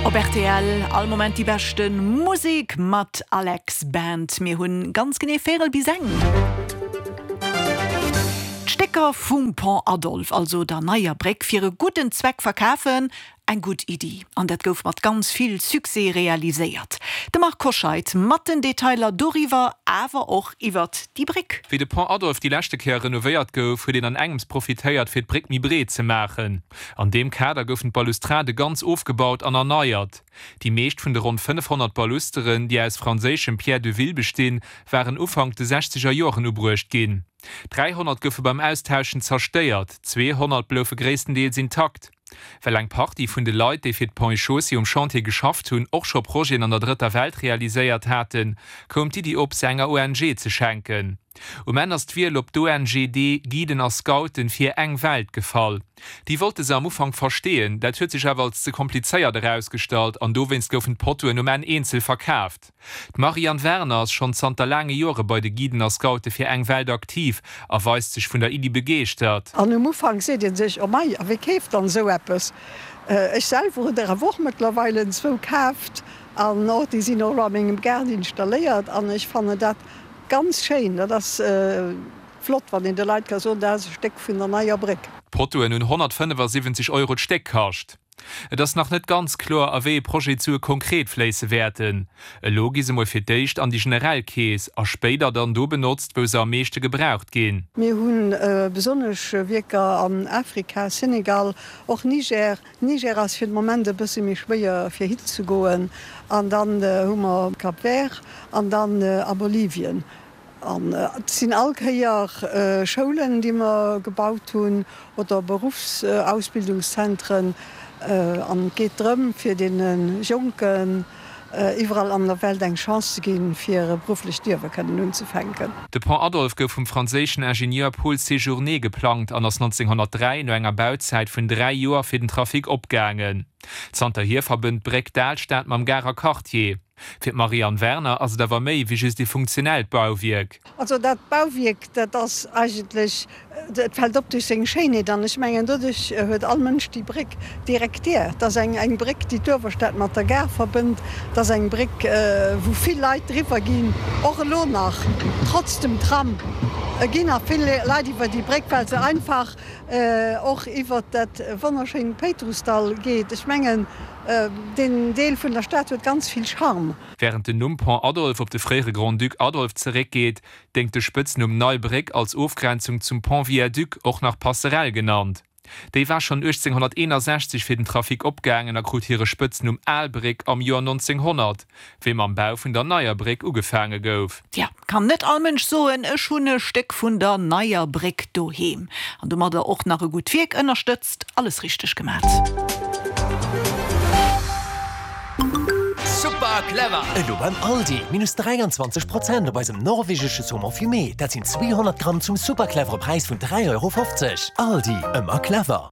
Op rtl all Moment déi beschte Musek mat Alex Band. Mir hunn ganz genee véirel bis eng. D'Stécker vum Pont Adolphe, also der neier Bréck, fir e gudden Zweck verkafen, eng gutt Iddi. An dat gouf mat ganz vill Succès realiséiert. De Marc Hoscheid mat den Detailer doriwwer, awer och iwwert déi Bréck. Wéi de Pont Adolphe déi leschte Kéier renovéiert gouf, huet een an engems profitéiert, fir d'Bréck méi breet ze maachen. An deem Kader goufen d'Balustrade ganz ofgebaut an erneiert. Déi meescht vun de ronn 500 Balusteren, déi aus franséischem Pierre de ville bestinn, waren Ufank de sechzeger Joren ubruecht ginn. 300 goufe beim Austauschen zerstéiert, 200 bloufe gréisstendeels intakt. Well eng Partie vun de Leit, déi fir d'Ponts et Chaussées um Chantier geschafft hunn, och scho Projeten an der Drëtter Welt realiséiert haten, koum d'Iddi op, se enger ONG ze schenken. Um Enn ass d'Wiel op d'ONGD Guiden a Scouten fir eng Welt gefall. Déi wollte se am Ufank versteeën, dat huet sech awer als ze komplizéiert erausgestallt an dowéinst goufen d'Potoen um Enn eenzel verkaaft. D'Marianne Werner ass schonn zanter laange Joere bei de Guiden a Scoute fir eng Welt aktiv a weist sech vun der Iddi begeeschtert. An um Ufank seet ee sech, Oh mei, a wie keeft dann esou eppes? Ech selwer hunn der awer och mëttlerweile zwou kaaft an och déi sinn och elo a mengem Gaart installéiert an ech fannen dat Ganz schéin, dat ass flott wann een de Leit ka soen, dat ass e Stéck vun der neier Bréck. D'Potoen hunn 175 Euro d'Stéck kascht. Et ass nach net ganz kloer, a wéi ee Projet d'Sue konkret fléisse wäerten. Elo gi se mol fir d'éischt an déi generell Keess a spéider dann do benotzt, wou se am meeschte gebraucht ginn. Mir hu besonnesch Wierker an Afrika, Senegal, och Niger. Niger ass fir de Moment e bësse méi schwéier fir hin ze goen. An dann hu mer Cap Vert an dann a Bolivien. An et sinn all Kéier Schoulen, déi mer gebaut hunn oder Beruffsausbildungszentren. An et geet drëm, fir deene Jonken iwwerall an der Welt eng Chance ze ginn, fir e berufflecht Liewe kënnen unzefänken. De Pont Adolphe gouf vum franséischen Ingenieur Paul Séjourné geplangt an ass 1903 no enger Bauzäit vun 3 Joer fir den Trafic opgaangen. Zanterhier verbënnt d'Bréck d'Alstad mam Garer Quartier. Fir d'Marianne Werner ass et awer méi wéi just ee funktionellt Bauwierk. Also dat Bauwierk, dat ass eigentlech, et fält op duerch seng Schéinheet an ech mengen doduerch huet all Mënsch déi Bréck direkt gär. Et ass eng eng Bréck, déi d'Uewerstad mat der Gare verbënnt. Et ass eng Bréck, wou vill Leit driwwer ginn, och elo nach, trotz dem Tram ginn nach vill Leit iwwer déi Bréck, well se einfach och iwwert dat wonnerschéint Péitrussdall geet. Ech mengen, deen Deel vun der Stad huet ganz vill Charme. Wärend den Numm Pont Adolphe op de fréiere Grand-Duc Adolphe zeréckgeet, déngt de Spëtznumm Nei Bréck als Ofgrenzung zum Pont Viaduc, och nach Passerelle genannt. Déi war schonn 1861 fir den Trafic opgaangen a krut hire Spëtznumm Al Bréck am Joer 1900, wéi mam Bau vun der Neier Bréck ugefaange gouf. Tja, kann net all Mënsch soen, ech hunn e Stéck vun der Neier Bréck doheem. An domadder och nach e gutt Wierk ënnerstëtzt. Alles richteg gemat. Super clever! Elo beim Aldi, minus 23 Prozent op eisem norwegesche Saumon fumé, dat sinn 200 Gramm zum super clevere Präis vun 3,50 Euro. Aldi, ëmmer clever!